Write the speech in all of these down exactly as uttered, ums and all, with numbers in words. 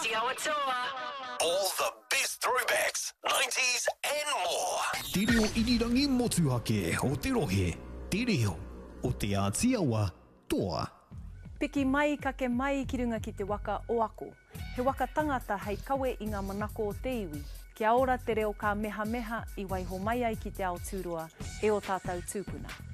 Āti Awa Toa. All the best throwbacks, nineties and more. Te reo irirangi motuhake o te rohe, te reo o Te Āti Awa Toa. Piki mai, kake mai ki runga ki te waka o Ako. He waka tangata hei kawe i ngā manako o te iwi. Kia ora te reo ka mehameha i waiho mai ai ki te ao tūroa e o tātou tūpuna.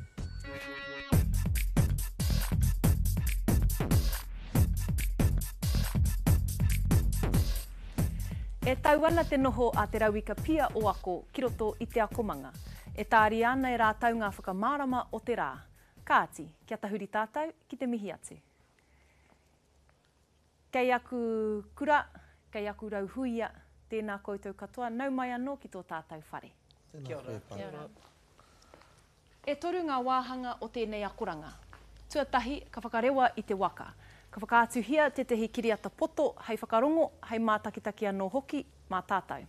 E tau ana te noho a Te Rauika Pia o Ako ki roto i te akomanga. E tāria ana e rātou ngā whakamārama o te rā. Kāti, kia tahuri tātou ki te mihi atu. Kei aku kura, kei aku rauhuia, tēnā koutou katoa, nau mai anō ki tō tātou whare. Kia ora. Kia ora. E toru ngā wāhanga o tēnei akoranga. Tuatahi, ka whakarewa i te waka. Ka whakaatuhia tētehi kiriata poto hei whakarongo, hei mātakitaki anō hoki mā tātou.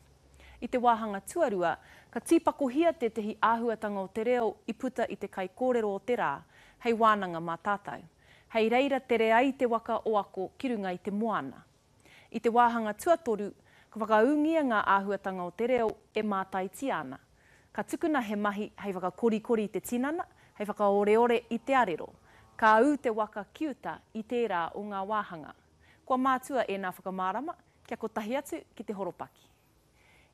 I te wāhanga tuarua, ka tīpakohia tētehi āhuatanga o te reo i puta i te kaikōrero o te rā, hei wānanga mā tātou. Hei reira tere ai te waka o Ako ki runga i te moana. I te wāhanga tuatoru, ka whakaūngia ngā āhuatanga o te reo e mātaitia ana. Ka tukuna he mahi hei whakakorikori i te tinana, hei whakaoreore i te arero. Ka ū te waka ki uta i tērā o ngā wāhanga. Kua mātua ēnā whakamārama, kia kotahi atu ki te horopaki.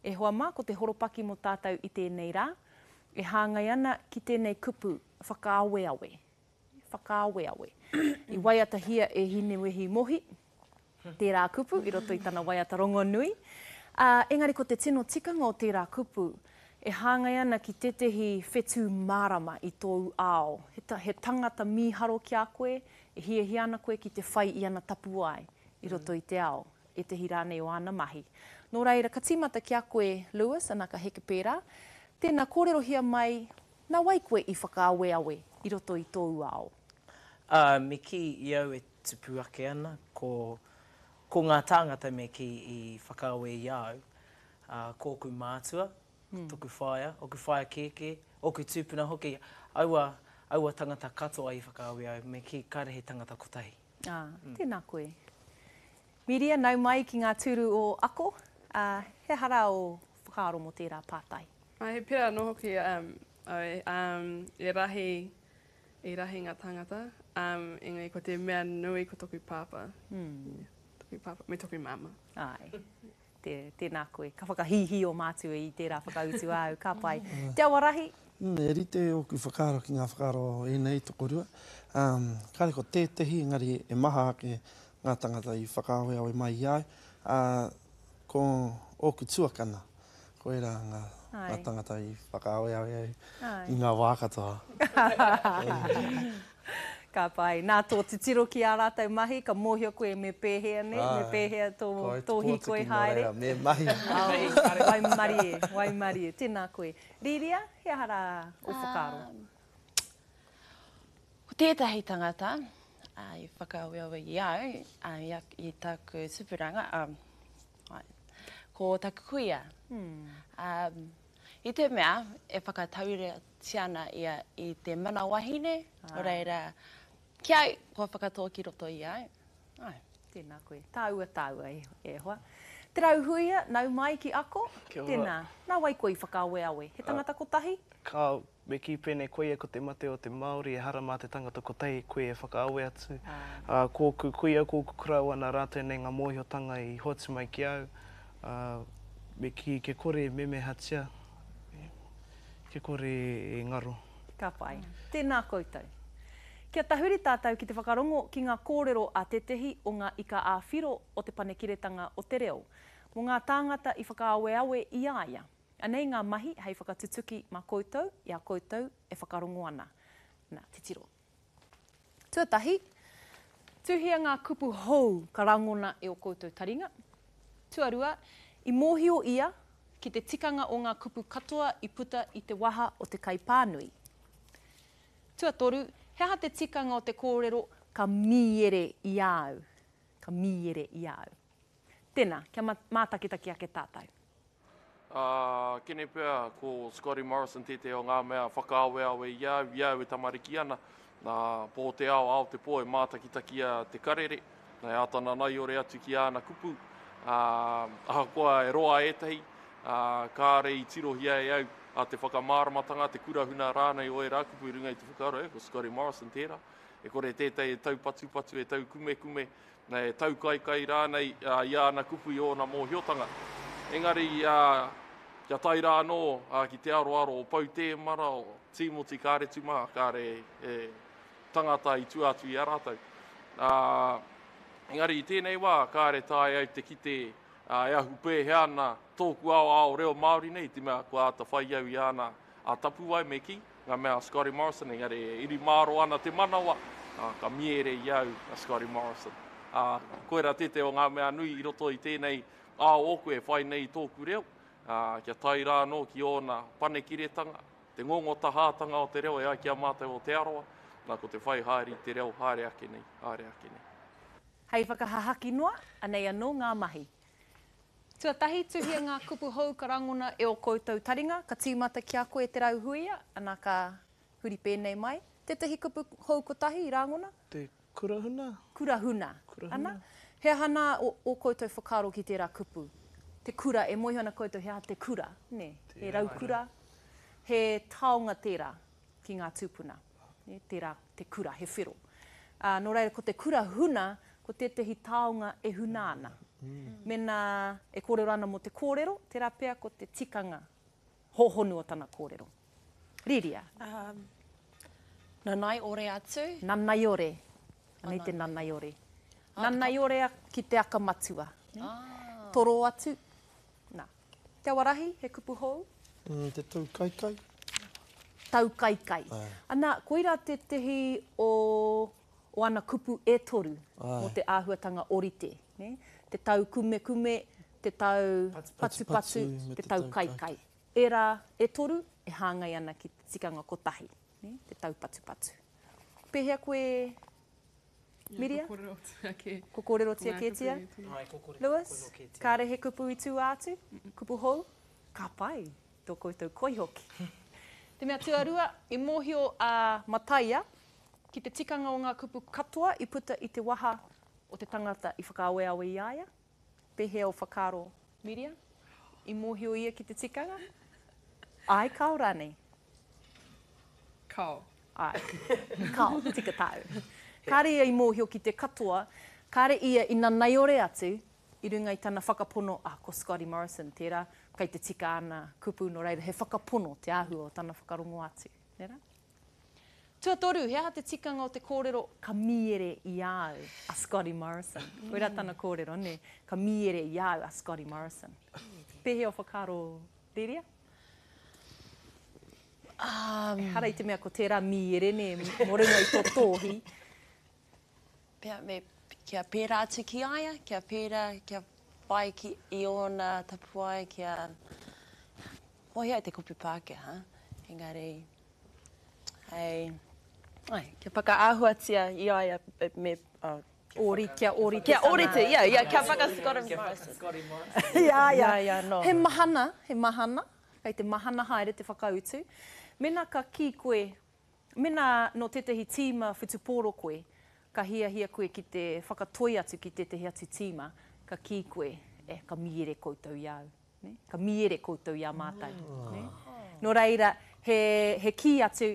E hoa mā, ko te horopaki mō tātou i tēnei rā, e hāngai ana ki tēnei kupu whakaaweawe. Whakaaweawe. I waiatahia e Hinewehi Mohi, tērā kupu i roto i tana waiata rongonui. Uh, engari ko te tino tikanga o tērā kupu, e hāngai ana ki tētehi whetū mārama i tōu ao. He, ta, he tangata mīharo ki a koe, e hiahia ana koe ki te whai i ana tapuwae i roto i te ao, ētehi rānei o āna mahi. Nō reira, ka tīmata ki a koe, Lewis, ana ka heke pērā. Tēnā, kōrerohia mai, nā wai koe i whakaaweawe i roto i tōu ao? Uh, me ki i au e tupu ake ana, ko, ko ngā tāngata me ki i whakaawe i au, uh, ko ōku mātua, mm. toku whaea, oku whaea kēkē, oku tūpuna hoki, aua, aua tangata katoa i whakaawe au, me ki kāre he tangata kotahi. Ah, mm. Tēnā koe. Miria, nau mai ki ngā tūru o Ako, uh, he hara o whakaaro mō tērā pātai. Ai, he pērā anō hoki um, au, um, e rahi, i rahi ngā tangata, um, engari ko te mea nui ko toku pāpā. Mm. Yeah, toku pāpā, me toku māmā. Ai. Tē, tēnā koe. Ka whakahīhī o mātua i tērā whakautu āu, ka pai. Te Awarahi? Mm, e rite ōku whakaaro ki ngā whakaaro ēnei tokorua. Um, kāre ko tētehi, engari e maha ake ngā tangata i whakaaweawe mai i au. Uh, ko ōku tuakana, ko era ngā, ngā tangata i whakaaweawe au i ngā wā katoa. Ka pai. Nā tō titiro ki ā rātou mahi, ka mōhio koe me pēhea, ne? Me pēhea tō, tō hīkoi haere. Reira, me mahi. Waimarie, waimarie. Tēnā koe. Rīria, he aha rā o whakaaro? Um, ko tētahi tangata uh, i whakaaweawe i au, uh, i, i taku tupuranga, um, ko taku kuia. Hmm. Um, I te mea, e whakatauratia ana ia i te mana wahine, ah. Reira, ki au, kua whakatō ki roto i au. Ai. Tēnā koe. Tāua, tāua e, e hoa. Te Rauhuia, nau mai ki Ako. Kia ora. Tēnā, nā wai koe i whakaaweawe? He tangata kotahi? Ka, me kī pēnei koia ko te mate o te Māori, e hara mā te tangata kotahi koe e whakaawe atu. Ah. Uh, kōku kuia, kōku kuraua nā rātou nei ngā mōhiotanga i hoatu mai ki au. Uh, me kī ke kore e memehatia, ke kore e ngaro. Ka pai. Tēnā koutou. Kia tahuri tātou ki te whakarongo ki ngā kōrero a tētehi o ngā ika ā-whiro o te panekiretanga o te reo, mō ngā tāngata i whakaaweawe i a ia. Anei ngā mahi hei whakatutuki mā koutou i a koutou e whakarongo ana. Nā, titiro. Tuatahi, tuhia ngā kupu hou ka rangona e o koutou taringa. Tuarua, i mōhio ia ki te tikanga o ngā kupu katoa i puta i te waha o te kaipānui. Tuatoru, he aha te tikanga o te kōrero ka mīere i au. Ka mīere i au. Tēnā, kia mātakitaki ake tātou. Uh, kene pea ko Scotty Morrison tētehi o ngā mea whakaaweawe i au, i au e tamariki ana. Nā, pō te ao, ao te pō e mātakitakia te karere. Nā, e āta nanaiore atu ki āna kupu. Ā, ahakoa e roa ētahi, ā, kāore i tirohia e au a te whakamāramatanga, te kura huna rānei o ērā kupu i runga i te whakaaro, e, ko Scotty Morrison tērā. E kore tētahi e taupatupatu, e taukumekume, e taukaikai rānei i āna kupu i ōna mōhiotanga. Engari, kia tae rā anō ki te aroaro o Pou Tēmara, o Tīmoti Kāretu mā, kāre he tangata i tua atu i a rātou. Engari i tēnei wā, kāre taea au te kite e ahu pēhea ana tōku ao ao reo Māori nei, i te mea kua āta whai au i āna tapuwae me kī, ngā mea a Scotty Morrison, engari e iri mārō ana te manawa, ā, ka miere i au a Scotty Morrison. Ā, koirā tētahi o ngā mea nui i roto i tēnei ao ōku e whai nei i tōku reo, ā, kia tae rā anō ki ōna panekiretanga, te ngongotahātanga o te reo e ai ki a mātou o Te Arawa, nā, ko te whai haere i te reo haere ake nei, haere ake nei. Hei whakahahaki noa, anei anō ngā mahi. Tuatahi, tuhia ngā kupu hou ka rangona e ō koutou taringa, ka tīmata ki a koe Te Rauhuia, ana ka huri pēnei mai. Tētahi kupu hou kotahi i rangona? Te kurahuna. Kurahuna. Kurahuna. Ana, he aha nā ō, ō koutou whakaaro ki tērā kupu? Te kura, e mōhio ana koutou he aha te kura, nē? He raukura, he taonga tērā ki ngā tūpuna, nē, tērā te kura, he whero. Ā, nō reira, ko te kura huna, ko tētahi taonga e huna ana. Mēnā e kōrero ana mō te kōrero, tērā pea ko te tikanga hōhonu o tana kōrero. Rīria. Um, nanaiore atu. Nanaiore. Anei te nanaiore. Nanaiore ki te aka matua. Ah. Toro atu. Nā. Te Awarahi, he kupu hou? Mm, te taukaikai. Taukaikai. Ana, koirā tētehi o, o ana kupu e toru mō te āhuatanga orite. Ne? Te tau kumekume, te tau patupatu, te tau kaikai. Ērā e toru e hāngai ana ki te tikanga kotahi, ne? Te tau patupatu. Pēhea koe, Miria? Ko kōrerotia kē. Ko kōrerotia kētia? Lewis, kāre he kupu i tua atu? Kupu hou? Ka pai, tō koutou koi hoki. Te mea tuarua, i mōhio a Mataia ki te tikanga o ngā kupu katoa i puta i te waha o te tangata i whakaaweawe i a ia. Pēhea o whakaaro, Miria? I mōhio ia ki te tikanga? Ai, kao rānei? Kao. Ai, kao, tika tāu. Kāre ia i mōhio ki te katoa, kāre ia i nanaiore atu i runga i tana whakapono, ah, ko Scotty Morrison tērā, kei te tika ana kupu, nō reira he whakapono te āhua o tana whakarongo atu. Nē rā? Tuatoru, he aha te tikanga o te kōrero ka mīere i a au a Scotty Morrison? Koirā tana kōrero, nē? Ka mīere i a au a Scotty Morrison. Pēhea o whakaaro, Rīria? Um, Ehara i te mea ko tērā mīere, nē, mō runga i tō tōhi. Pea, me, kia pērā atu ki a ia, kia pērā, kia whai ki, i ōna tapuwae, kia mōhio ai te kupu Pākehā, engari, hei, ai, kia whakaāhuatia i a ia me, oh, Ori, kia ōrite Kia tana. ōrite, ia, ia, kia whaka Scotty Morrison. Scotty Morrison. Ia, ia. Ia, ia, no. He mahana, he mahana, kei te mahana haere te whakautu. Mēnā ka kī koe, mēnā nō tētahi tīma whutupōro koe, ka hiahia koe ki te whakatoi atu ki tētahi atu tīma, ka kī koe, eh, ka mīere koutou i a au. Ne? Ka mīere koutou i a mātou. Ne? Nō reira, he, he kī atu,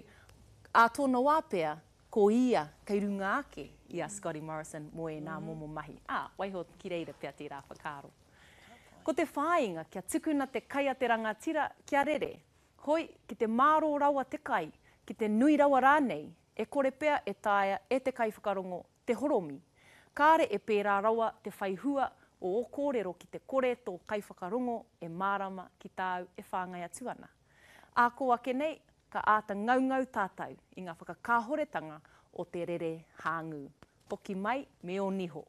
ā tōna wā pea, ko ia kei runga ake i a Scotty Morrison mō ēnā momo mahi. Ā, waiho ki reira pea tērā whakaaro. Ko te whāinga kia tukuna te kai a te rangatira kia rere. Hoi, ki te mārō rawa te kai, ki te nui rawa rānei, e kore pea e taea e te kaiwhakarongo te horomi. Kāre e pērā rawa te whai hua o ō kōrero ki te kore tō kaiwhakarongo e mārama ki tāu e whāngai atu ana. Ā kō ake nei, ka āta ngaungau tātou i ngā whakakāhoretanga o te rere hāngū. Hoki mai me ō niho.